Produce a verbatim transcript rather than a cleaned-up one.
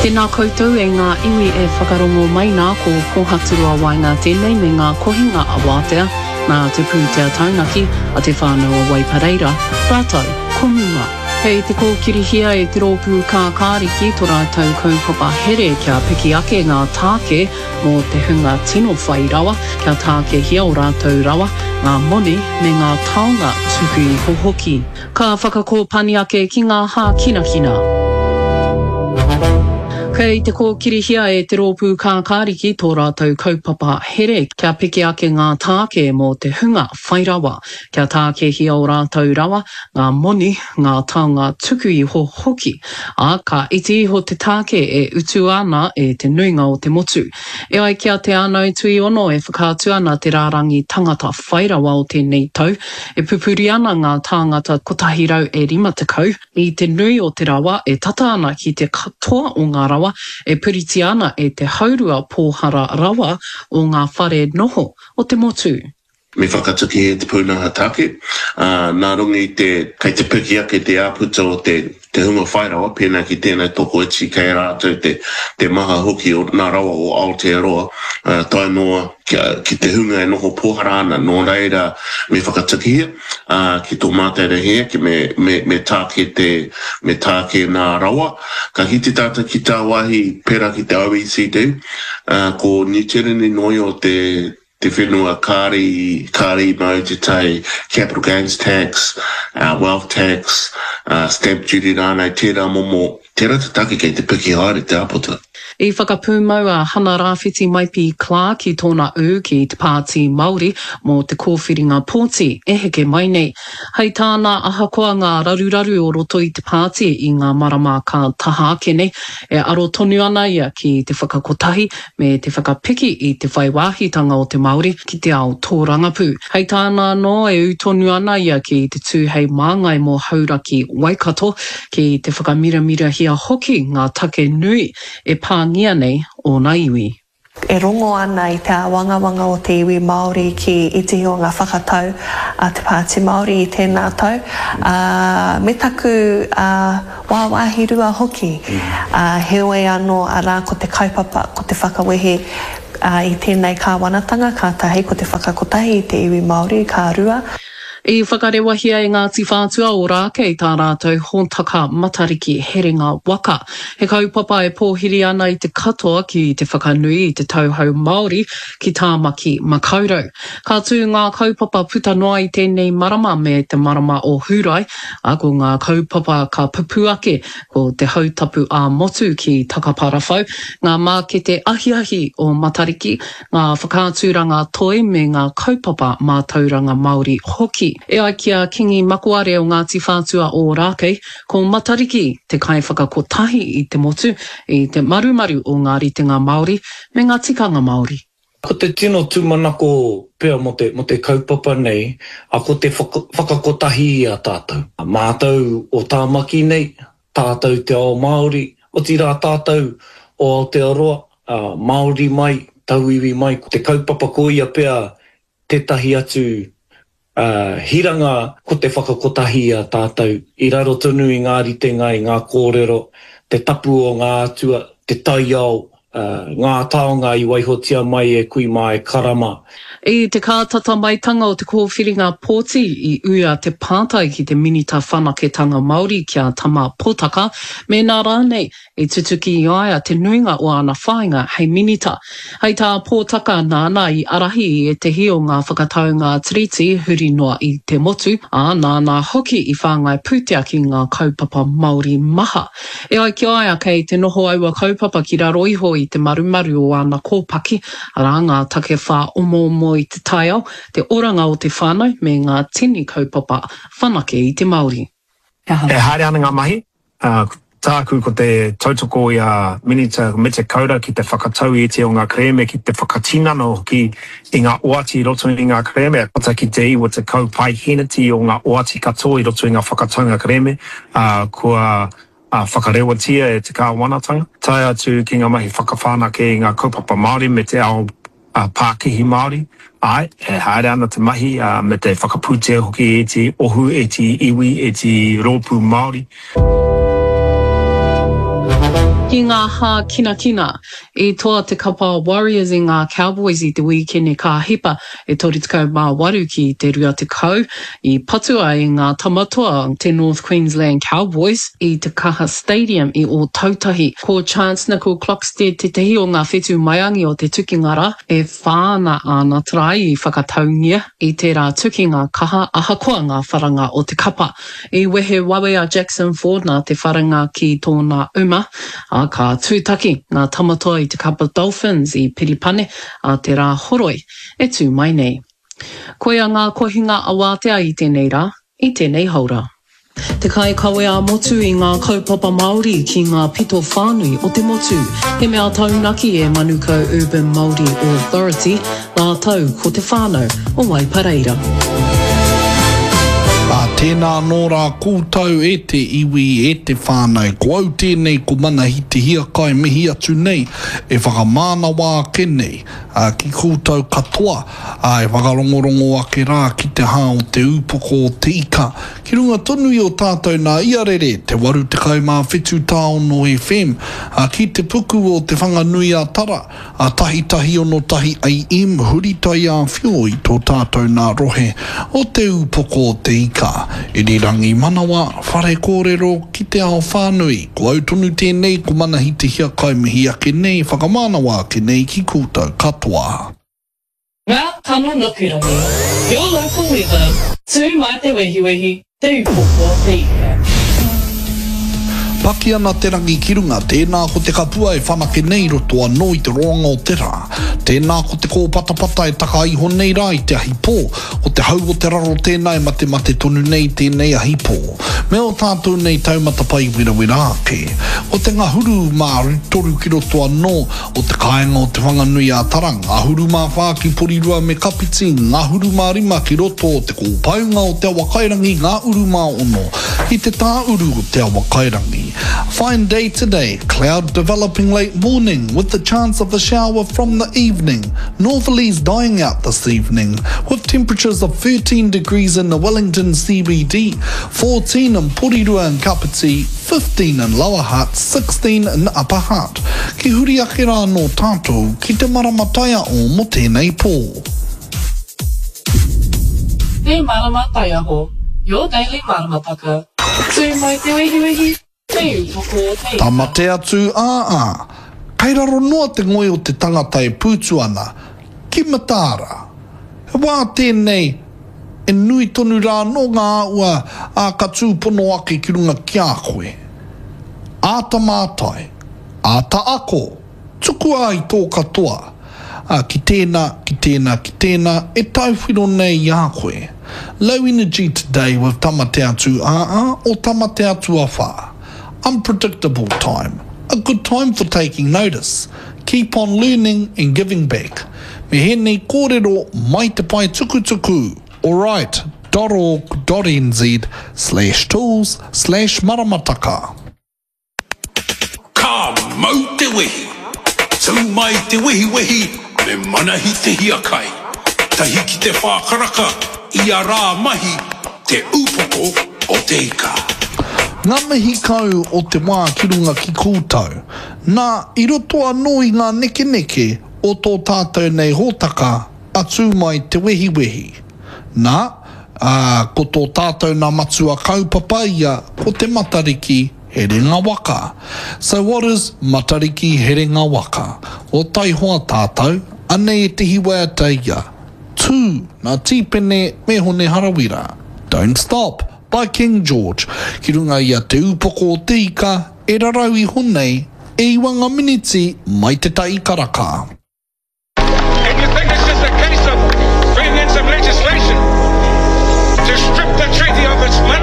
Tēnā koutou e ngā iwi e whakarongo mai nā, ko Pōhaturoa Waenga tēnei me ngā kohinga a Wātea, nā te pūtea taunaki a Te Whānau o Waipareira, rātou ko Muma. Kei te kōkirihia e te rōpū Kākāriki tō rātou kaupapa here kia piki ake ngā tāke mō te hunga tino whai rawa, kia tākehia ō rātou rawa, ngā moni me ngā taonga tuku iho hoki. Ka whakakōpani ake ki ngā hākinakina. Kei te kōkirihia e te rōpū Kākāriki tō rātou kaupapa here kia piki ake ngā tāke mō te hunga whai rawa, kia tākehia ō rātou rawa, ngā moni, ngā taonga tuku iho hoki, ā, ka iti iho te tāke e utua ana e te nuinga o te motu. E ai ki a Te Ānau Tuiono e whakaatu ana te rārangi tangata whai rawa o tēnei tau, e pupuri ana ngā tāngata kotahi rau e rima tekau, i te nui o te rawa e tata ana ki te katoa o ngā rawa e puritia ana e te haurua pōhara rawa o ngā whare noho o te motu. Me whakatuki e te pūnaha tāke, ā, nā runga i te, kei te piki ake te āputa o te, te hunga whai rawa, pēnā ki tēnei tokoiti kei a rātou te, te maha hoki o nā rawa o Aotearoa, ā, tae noa kia, ki te hunga e noho pōhara ana, nō reira me whakatukihia, ā, ki tō mātou rahi ake me, me, me tāke te, me tāke nā rawa. Ka kite tātou ki tāwāhi pērā ki te O E C D, ā, ko Niu Tireni noa te, te whenua kāre i, kāre i mau te tai capital gains tax, uh, wealth tax, uh, stamp duty rānei, tērā momo, tērā te take kei te piki haere te āputa. I whakapūmau a Hana Rāwhiti Maipi Clark i tōna ū ki te Pāti Māori mō te kōwhiringa pōti e heke mai nei. Hei tāna ahakoa ngā raruraru o roto i te pāti i ngā marama ka taha ake nei, e aro tonu ana ia ki te whakakotahi me te whakapiki i te whai wāhitanga o te Māori ki te ao tōrangapū. Hei tāna anō e ū tonu ana ia ki te tū hei māngai mō Hauraki Waikato, ki te whakamiramirahia hoki ngā take nui e pāngia nei ōna iwi. E rongo ana i te āwangawanga o te iwi Māori ki ētehi o ngā whakatau a te Pāti Māori i tēnā tau, ā, me taku, ā, wāwāhi rua hoki. Ā, heoi anō, arā, ko te kaupapa, ko te whakawehe, ā, i tēnei kāwanatanga, ka tahi, ko te whakakotahi i te iwi Māori, ka rua. I whakarewahia e Ngāti Whātua o Rākei tā rātou hōtaka Matariki Herenga Waka. He kaupapa e pōhiri ana i te katoa ki te whakanui i te tauhou Māori ki Tāmaki Makaurau. Ka tū ngā kaupapa puta noa i tēnei marama me te marama o Hūrae, ā, ko ngā kaupapa ka pupū ake ko te hautapu ā-motu ki Takaparawhau, ngā mākete ahiahi o Matariki, ngā whakaaturanga toi me ngā kaupapa mātauranga Māori hoki. E ai ki a Kingi Makoare o Ngāti Whātua o Ōrākei, ko Matariki te kaiwhakakotahi i te motu, i te marumaru o ngā ritenga Māori me ngā tikanga Māori. Ko te tino tūmanako pea mō te, mō te kaupapa nei, a ko te whaka, whakakotahi i a tātou. Mātou o Tāmaki nei, tātou te ao Māori, otirā tātou o Aotearoa, a, Māori mai, tauiwi mai. Ko te kaupapa ko ia pea tētahi atu, a, hiranga ko te whakakotahi i a tātou, i raro tonu i ngā ritenga, i ngā kōrero, te tapu o ngā atua, te taiao, a, ngā taonga i waihotia mai e kui mā e karama. I te kātata maitanga o te kōwhiringa pōti i uia te pātai ki te Minita Whanaketanga Māori ki a Tama Potaka, mēnā rānei i tutuki i a ia te nuinga o āna whāinga hei minita. Hei tā Potaka nāna i ārahi i ētehi o ngā whakataunga tiriti huri noa i te motu, ā, nāna hoki i whāngai pūtea ki ngā kaupapa Māori maha. E ai ki a ia kei te noho aua kaupapa ki raro iho i te marumaru o āna kōpaki, arā ngā take whāomoomo i te taiao, te oranga o te whānau me ngā tini kaupapa whanake i te Māori. E haere ana ngā mahi, ā, tāku ko te tautoko i a Minita Mete Kaura ki te whakatau i ētehi o ngā kerēme, ki te whakatinana hoki i ngā oati i roto i ngā kerēme, tata ki te iwa tekau paeheneti o ngā oati katoa i roto i ngā whakataunga kerēme, ā, kua whakarewatia e te kāwanatanga, tae atu ki ngā mahi whakawhanake i ngā kaupapa Māori me te ao pākihi Māori. Āe, e haere ana te mahi, ā, me te whakapūtea hoki e ētehi ohu, ētehi iwi, ētehi rōpū Māori. Ki ngā hākinakina, i toa te kapa Warriors i ngā Cowboys i te wīkene ka hipa e toru tekau mā waru ki te rua tekau, i patua e ngā Tamatoa te North Queensland Cowboys i te Kaha Stadium i Ōtautahi. Ko Chance Nickel-Klokstad tētehi o ngā whetū maiangi o te tukinga rā, e whā ana āna tarae i whakataungia i tērā tukinga kaha ahakoa ngā wharanga o te kapa. I wehe wawe a Jackson Ford nā te wharanga ki tōna uma, ā, ka tūtaki ngā Tamatoa i te kapa Dolphins i Piripane ā te Rāhoroi e tū mai nei. Koia ngā kohinga awātea i tēnei rā, i tēnei haora. Te kaikawe ā-motu i ngā kaupapa Māori ki ngā pito whānui o te motu. He mea taunaki e Manukau Urban Māori Authority rātou ko te whānau o Waipareira. Ā, tēnā anō rā koutou e te iwi, e te whānau, ko au tēnei ko Manahi Te Hiakai mihi atu nei, e whakamānawa ake nei ki koutou katoa, ā, e whakarongorongo ake rā ki te hā o te ūpoko o te ika, ki runga tonu i o tātou nā Iarere, te waru tekau mā whitu tāono FM, ā, ki te puku o Te Whanganui-a-Tara, a tahi tahi ono tahi AM huri taiāwhio i tō tātou nā rohe o Te Ūpoko o Te Ika, Irirangi Manawa, Whare Kōrero ki te ao whānui. Ko au tonu tēnei, ko Manahi Te Hiakai mihi ake nei, whakamānawa ake nei ki koutou katoa. Ngā kano nukurangi, Your local weather, tū mai te wehiwehi, Te Ūpoko o Te Ika. Paki ana te rangi ki runga, tēnā ko te kapua e whanake nei i roto anō i te roanga o te rā. Tēnā ko te kōpatapata e taka iho nei rā i te ahi pō, ko te hau o te raro tēnā e matemate tonu nei tēnei ahi pō. Me ō tātou nei taumata pai werawera ake. Ko te ngahuru mā toru ki roto anō o te kāinga o Te Whanganui-a-Tara, ngahuru mā whā ki Porirua me Kapiti, ngahuru mā rima ki roto o te kōpaunga o Te Awakairangi, ngā uru mā ono ki te tāuru o Te Awakairangi. Fine day today, cloud developing late morning with the chance of a shower from the evening. Northerlies dying out this evening with temperatures of thirteen degrees in the Wellington C B D, fourteen in Porirua and Kapiti, fifteen in Lower Hutt, sixteen in Upper Hutt. Ki huri ake rā nō tātou ki te marama taiao mō tēnei pō. Te Marama Taiaho, your daily maramataka. Tū mai te wehiwehi, te upoko o te ika. Tamate atu ā ā. Kei raro noa te ngoi o te tangata e pūtu ana, ki mataara. He wā tēnei e nui tonu rā anō ngā ua, ā, ka tūpono ake ki runga ki a koe. Āta mātai, āta ako, tukua ai tō katoa, ā, ki tēnā, ki tēnā, ki tēnā, e tauwhiro nei i a koe. Low energy today with Tamatea-tū-ā-ā or Tamatea-tua-whā. Unpredictable time. A good time for taking notice. Keep on learning and giving back. Me hēnei kōrero mai te pae tukutuku alright dot org dot nz slash tools slash maramataka. Ka mau te wehi! Tū mai te wehiwehi me Manahi Te Hiakai. Tahi ki te whā karaka ia rā mahi Te Ūpoko o Te Ika. Ngā mihi kau o te wā ki runga ki koutou. Nā, i roto anō i ngā nekeneke o tō tātou nei hōtaka a Tū Mai Te Wehiwehi. Nā, ā, ko tō tātou nā matua kaupapa ia ko te Matariki Herenga Waka. So what is Matariki Herenga Waka? O taihoa tātou, anei ētehi waiata ia, Tū, nā Tīpene me Hone Harawira, Don't Stop, by King George, ki runga i a Te Ūpoko o Te Ika e rarau iho nei, e iwa ngā miniti mai te tahi karaka. If you think it's just a case of bringing in some legislation to strip the treaty of its money,